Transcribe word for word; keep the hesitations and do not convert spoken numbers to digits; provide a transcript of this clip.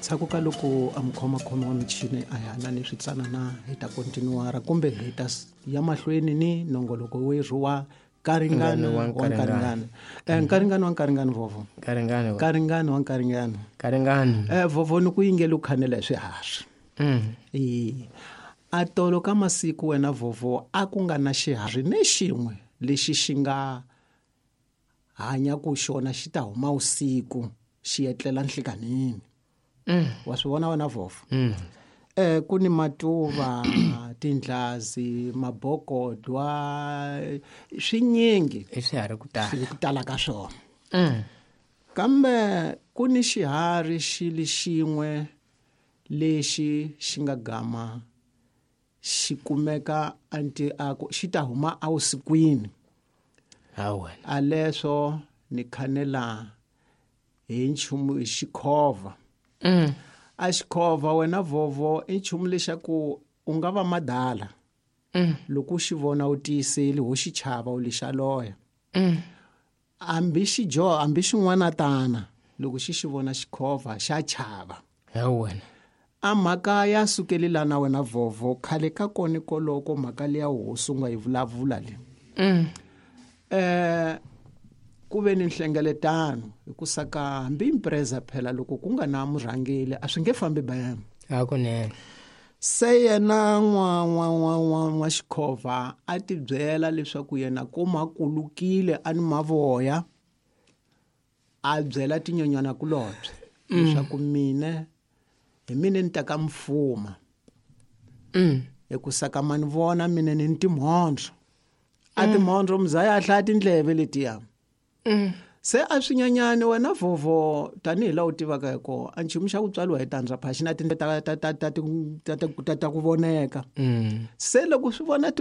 Ndzhaku ka loko a mukhomakhoma wa michini a hi na ni switsanana hi ta kontinuara kumbe hi ta ya mahlweni ni nongoloko werhu wa nkaringano wa nkaringano. Eh nkaringano wa nkaringano vovo. Nkaringano. Nkaringano wa nkaringano. Nkaringano. Eh vovo ni ku yingela u khanela hi swiharhi. Mm. Eh a tolo ka masiku wena vovo a ku nga na xiharhi ne xin'we lexi xi nga hanya ku xona xi ta huma usiku xi etlela nhlikanini. Mm. Wa swi vona wena vovo? Mm. Eh ku ni matuva, tindlazi, mabokodwa, swinyingi. I swiharhi ku tala. Swi ku tala ka swona. Mm. Kambe ku ni xiharhi xi li xin'we lexi xi nga gama xi kumeka anti a ku xi ta huma awusikwini. Ha wena. A leswo ni khanela hi nchumu hi xikhova. Mm. A xikhova wena vovo i nchumu lexaku u nga va madala. Mm. Loko u xi vona u tiyiseli ho xi chava u lexa loya. Mm. Hambi xi dyoha, hambi xin'wana tana, loko xi xi vona xikhova xa chava. Ha wena. A mhaka ya sukeli lana wena vovo khale ka kona koloko mhaka leya hosi u nga yi vulavula le. Mm. Eh ku ve ni nhlengeletano hi ku saka hambi impreza phela loko ku nga na murhangeli a swi nge fambi bayani. Hakunene. Se yena n'wa n'wa n'wa n'wa n'wa xikhova a ti byela leswaku yena ko makulukile a ni mavoya a byela tinyonyana kulobye leswaku mina hi mina ni ta ka mfuma. Mm. Hi ku saka mani vona mina ni timhondzo. A timhondzo mzaya a hlaya tindleve letiya. Mm. Se a swinyanyani wena vovo tanihi laha u tivaka hi kona a nchumu xa ku tswariwa hi tandza pha xi na tindleve ta ta ta ta ta ta ta ku voneka. Mm. Se loko swi vona